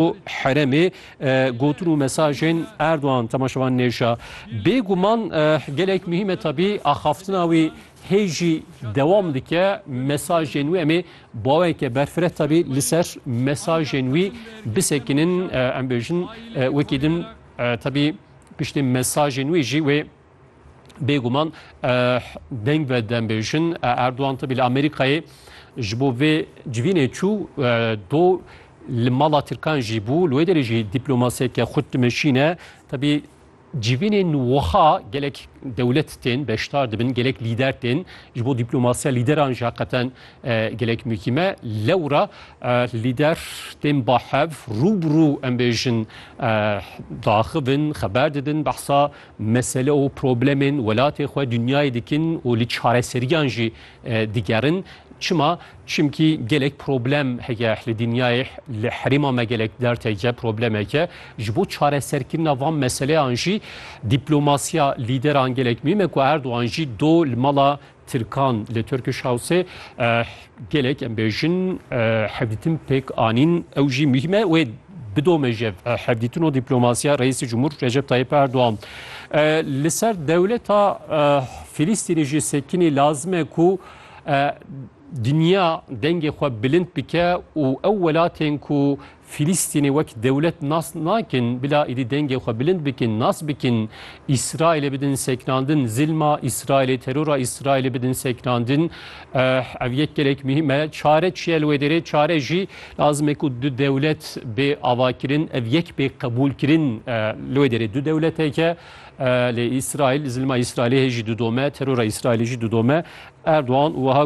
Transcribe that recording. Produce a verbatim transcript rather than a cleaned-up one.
û herêmê, e, gotin û mesajên Erdogan temaşevan nêşa. Bêguman, e, gelek muhîm e tabî axaftina wî hê jî dewam dike. Mesajên wî em ê baweke berfireh tabî li ser mesajên wî bisekinin, e, em bêjin, e, wekî din, e, tabî piştî mesajên wî jî wê bêguman, e, deng ve dem bêjin. E, Erdogan tabî li Amerîkayê ji bo vê civînê çû, e, do li mala Tirkan jî bû. Li wê derê jî dîplomasiyeke xurt dimeşîne. Tabî civînên wiha gelek dewlet tên beşdar dibin, gelek lîder tên. Ji bo dîplomasiya lîderan jî heqeten, e, gelek muhîm e. Lewra, e, lîder tên ba hev, rû bi rû, em bêjin, e, daxivin, xeber didin, behsa mesele û problemên welatê xwe dinyayê dikin û li çareseriyan jî, e, digerin. Çima? Çimkî gelek problem heye li dinyayê, li herêma me gelek dert heye, problemeke. Ji bo çareserkirina van meseleyan jî dîplomasiya lîderan gelek muhîm e ku Erdogan jî do li mala Tirkan li Turkish Houseê, e, gelek em bêjin, e, hevdîtin pêk anîn, ew jî muhîm e. Wê bidome ji, e, hevdîtin û dîplomasiya Reîsê Cumhur Recep Tayyip Erdogan. E, li ser dewleta, e, Filistînê jî sekinî lazim e ku, e, dinya dengê xwe bilind bike û ew welatên ku Filistînê wek dewlet nas nakin, bila êdî dengê xwe bilind bikin, nas bikin, Îsraîlê bidin sekinandin, zilma Îsraîlê, terora Îsraîlê bidin sekinandin. Eh, ev yek gelek muhîm e. Çare çi ye li wê derê? Çare jî lazim e ku du dewlet bê avakirin, ev yek bê qebûlkirin, eh, li wê derê du dewleteke, eh, lê Îsraîl, zilma Îsraîlê hê jî didome, terora Îsraîlê jî didome. Erdogan wiha